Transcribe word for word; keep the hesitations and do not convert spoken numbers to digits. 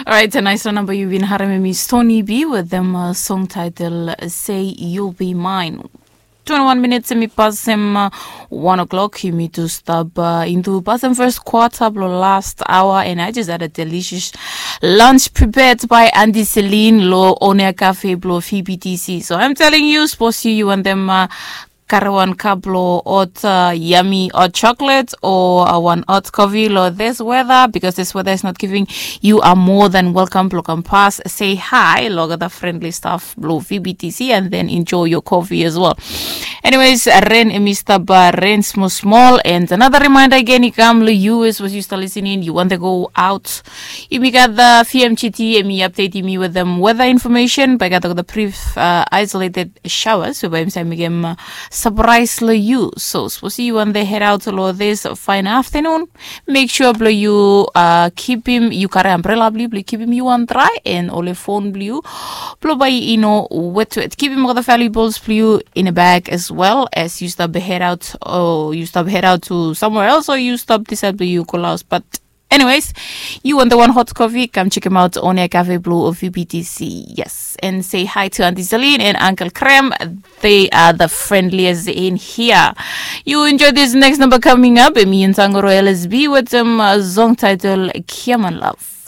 Orait, naisra namba yu bin harem em i Stony B wetem song title Say You'll Be Mine. Twenty-one minutes em i pasem one o'clock. Yumi tu stap intu pasem first quarter blo last hour, and I just had a delicious lunch prepared by Auntie Celine lo Onia Cafe blo V B T C. So I'm telling you, suppose you want them uh, kare wan cup lo hot uh, yummy hot chocolate or uh, one hot coffee lo this weather, because this weather is not giving you are more than welcome blo kam pas say hi lo the friendly staff blo V B T C and then enjoy your coffee as well. Anyways, ren em i stap uh, ren small small, and another reminder again, i kam lo you as was you start listening, you want to go out, yumi gat the V M G T, em i update yumi with them weather information, but I got the brief uh, isolated showers, so by time again uh, surprise lo you. So suppose you want to head out lo this fine afternoon, make sure blo you uh, keep him, you kare umbrella blo you, blo keep him you on dry, and ole phone blo you blo by you know wet wet. Keep him all the valuables blo you in a bag as well as you stop head out, or you stop head out to somewhere else, or you stop decide blo you go house. But anyways, you want the one hot coffee? Come check him out on a cafe blue or V B T C. Yes, and say hi to Auntie Celine and Uncle Krem. They are the friendliest in here. You enjoy this next number coming up. Emi and Sangoro L S B with some uh, song title Kiaman Love.